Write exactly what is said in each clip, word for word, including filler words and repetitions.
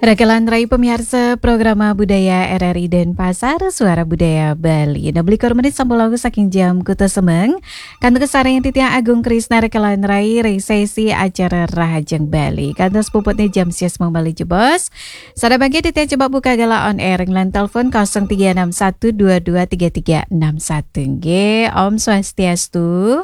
Rekelan rai pemirsa programa budaya R R I Denpasar, Suara Budaya Bali. Nah, beli menit sampun lalu saking jam kuta semeng. Kantuk kesareng titiang Agung Krisna rekelan rai, rai sesi acara Rahajeng Bali. Kantuk sepuputnya jam sias meng Bali jebos. Sada bangke titiang coba buka gala on air, ngelan telepon kosong tiga enam satu dua dua tiga tiga enam satu. Nggih, Om Swastiastu.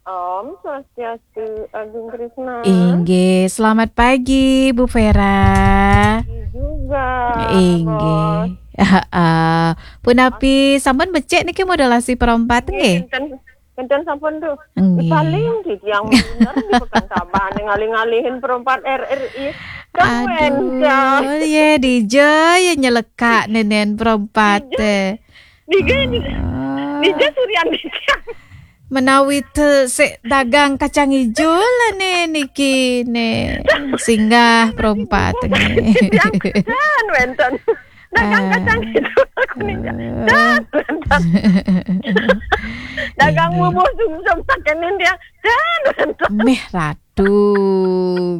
Om Swastiastu, Agung Krisna. Inggih, selamat pagi, Bu Vera. Pagi juga, Inggih. Bos. Heeh. Punapi, sampun becik niki modulasi perompat, nggih? Nggih, kinten, kinten sampun tuh. Nggih. Paling di tiang bener di Pekan Saban ngalih-ngalihin perompat R R I. Aduh, ya, dija ya nyelekak nenen perompat, eh. Dija, dija, Ah. Dija surian di tiang. Menawi te sik dagang kacang ijo lah ne niki ne. Singgah perompat ne. Tiang, dan wenten. Dagang Ah. Kacang ijo aku nih. Ah. Dan wenten. Dagang Ini. Bubur sumsum sakenin tiang. Dan wenten. Meh ratu.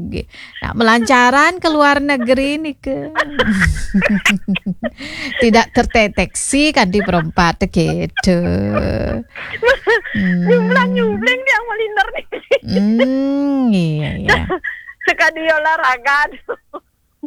Nggih. Nah, melancaran ke luar negeri nih ke. Tidak terdeteksi kan di perompat gitu. Hmm. Nyumblang-nyumbling tiang melinter nih. Hmm, iya, iya. Sekadi olahraga.